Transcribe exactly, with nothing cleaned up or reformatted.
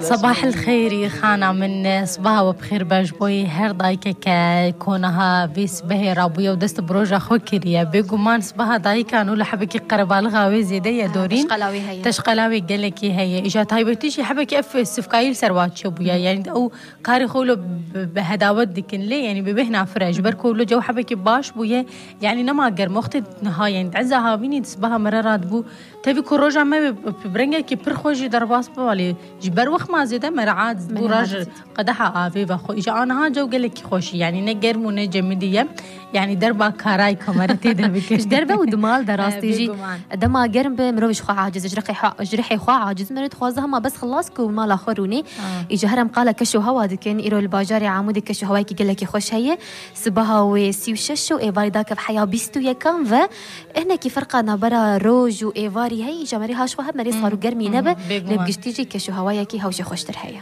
Sabah el xêrî xana min, sibaha we bi xêr be ji bo her dayikeke ku niha vê sibehê rabûye û dest bi roja xwe kiriye. Bêguman sibaha dayikan û li hebekî qerebalixa wê zêde ye dorîn. Teşqela wê heye. Teşqela wê gelekî heye. Îja taybetî jî hebekî ev sifkayî li ser wa çêbûye. Yani ew karê xwe wilo bi, bi hedawet dikin lê, yani bi bêhna fire. Ji ber ku wilo cew hebekî baş bûye. Yani nema germ. Wextê niha, yani di eza havînî di sibaha me re radibû. Tevî ku roja me bi, bi rengekî pir xweş jî derbas bibe lê ji ber wexma zêde me re ad bû. Raj qedeha avê ve xwe. Îja aniha cew gelekî xweş e. Yani ne germ û ne cemidî ye. Yani derba karay kamera tê de bike. Ji derve û di mal de rastî jî. Bêguman. Dema germ be mirov ji xwe aciz, ji rihê xwe, ji rihê xwe aciz. Mirov dixwaze hema bes xilas ku mala xwe rûnê. Îja herem qala keş û hewa dikin. Îro li bajarê Amûdê keş û hewayekî gelekî xweş heye. Sibaha wê sî û şeş û êvarî dakev heya bîst û yekan ve. Hinekî ferqa navbera roj û êvarî heye, îja merê haş xwe hebe, merê sar û germî nebe. Lê bi giştî jî keş û hewayekî hewşê xweştir heye.